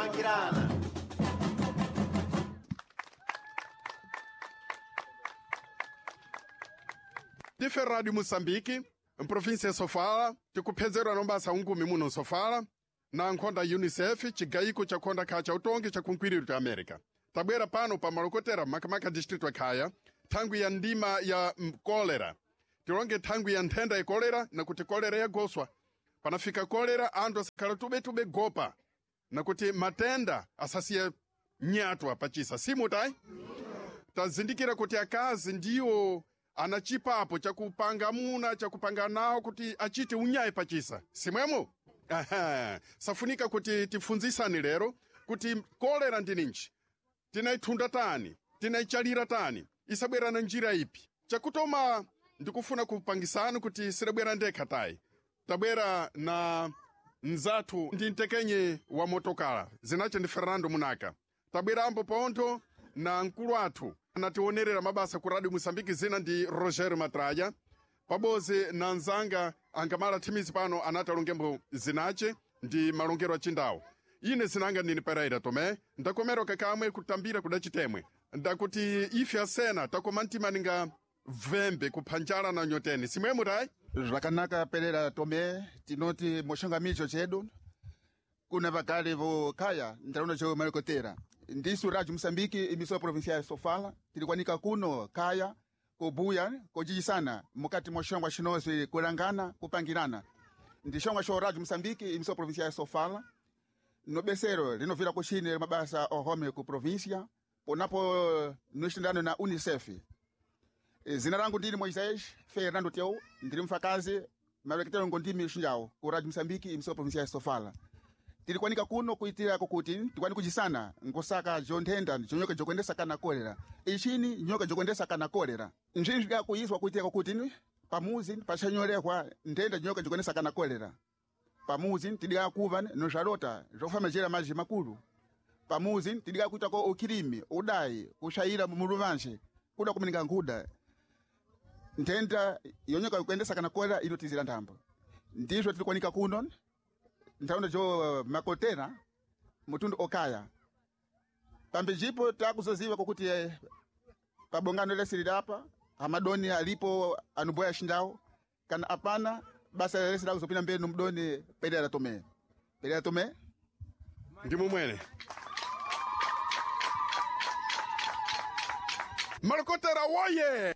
Kupangirana. Ndife Rádio Moçambique, mprovinsia ya Sofala, tikuphezerwa nombasa ungumi muno Sofala, na nkhonda UNICEF, cigayiko cha khonda kha cha utongi cha kunkwiriro cha América. Tabwera pano pa malokotera makamaka distrito ya Khaya, thangwi ya ndima ya kolera. Tilonge thangwi ya nthenda ya kolera na kuti kolera yagoswa. Panafika kolera anthu asakhala tubetube gopa na kuti matenda asasiye nyatwa pachisa simutayi tazindikira kuti akazi ndiwo ana chipapo chakupanga amuna chakupanga nawo kuti achite unyayi pachisa simwemo. Aha. Safunika kuti tifunzisane lero kuti kolera ndi ninji, tinayithunda tani, tinayichalira tani, isabwera na njira ipi. Chakutoma ndikufuna kupangisani kuti sidabwera ndekha tayi, tabwera na mzathu ndi mtekenye wa motokala zinache ndi Fernando Munaka. Tabwerambo pontho na mkulu athu anationerera mabasa ku Radio Moçambique zina ndi Rogério Matraja, pabodzi na nzanga angamala thimizi pano anati alongembo zinache ndi malongero achindawo. Ine zinanga ndini Pereira Tomé, ndakomera kakamwe kutambira kuda chitemwe ndakuti ife asena takoma mtima ninga vembe kuphanjala na nyoteni simwemo tayi. Zvakanaka Pereira Tomé, tinoti moshangamicho chedu kuna vakale vokhaya ntaraunda cho malokotera. Ndisu Rádio Moçambique, emissora provincial ya Sofala, tilikwanika kuno kaya kubuya kojijisana mukati mwa xongwa xinozi kulangana kupangirana. Ndi xongwa xo Rádio Moçambique, emissora provincial ya Sofala, no besero linovila kuxine mabasa ohome ku província ponapo nixindano na UNICEF. Zina langu ndini Moisés Fernando Teu, ndiri mfakazi maleketero ngondimi xinjawo ku Rádio Moçambique, emissora provincial ya Sofala. Tilikwanika kuno kuitira kukuti tikwani kujisana ngosaka jonthenda jonyoka jokuendesa kana kolera ixini nyoka jokuendesa kana kolera nzvinzvi byakuizwa kuitira kukuti pamuzi pachanyorehwa nthenda nyoka jokuendesa kana kolera pamuzi tidika kuva nozvalota zvokufamajera maji makulu pamuzi tidika kuitako ukhilimi udayi kuxayira muluvanxe kuda kumininga nkhuda nthenda yonyoka yokuendesa kana kolera inotizira nthambo. Ndizvo tilikwanika kuno nthaunda jo makotera mutundu okaya pambijipo takuzoziva kokuti pabongano lesili apa amadoni alipo anuboya xindawo kana apana basa lesi lakuzopina mbeni mdoni Pereira Tomé. Pereira Tomé ndi mumwene malokotera woye.